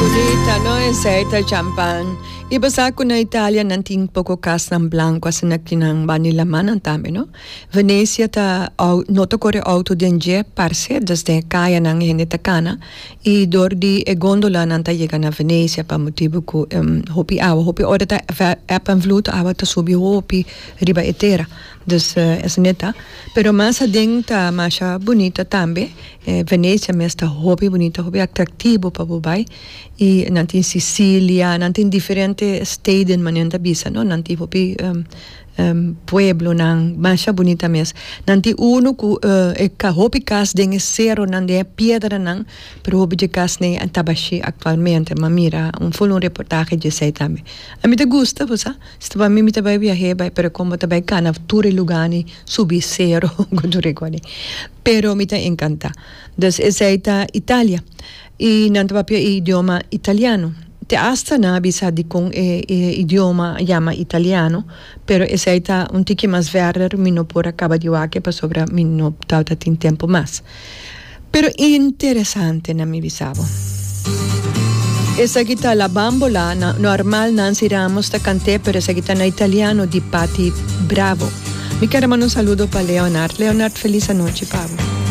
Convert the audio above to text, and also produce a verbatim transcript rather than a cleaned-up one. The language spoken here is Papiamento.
Bunita, no? Esey ta champan. Y bo sa cu na Italia nan tin poco casnan blanco asina cu nan banda laman tambe, no? Venecia ta no ta core auto den dje parce, dus den caya nan hende ta cana y door di e gondola nan ta yega na Venecia pa motibo cu um, hopi awa, hopi ora ta eb en vloed, awa ta subi hopi riba e tera. Dus uh, esey ta. Pero mas aden ta masha bunita tambe. Eh, Venecia mes ta hopi bunita, hopi atractivo pa bay. Y nan tin Sicilia, nan tin diferente steden manera nan ta bisa, no? Nan tin hopi um, um, pueblonan masha bunita mes. Nan tin uno cu uh, e ka hopi cas den cero nan den piedra nan, pero hopi di casnan ta bashi actualmente, m'a mira un full un reportahe di esey tambe. Ami ta gusta, bo sa? Si pa mi mi ta bay viaha bay, pero como ta bay cana tur lugar ni subi cero cu tur. Pero mi ta encanta. Dus esey ta Italia. Y nan ta papia idioma italiano. Te hasta nan a bisa di con e, e idioma yama italiano, pero esey ta un tiki mas verder, mi no por a caba di wak pasobra mi no tabatin tempo mas. Pero interesante na mi bisa bo. Esaki ta La Bambola, na, normal Nancy Ramos ta cant'e, pero esaki ta na italiano di Patti Bravo. Mi kier manda un saludo pa Leonard. Leonard, feliz anochi pa bo.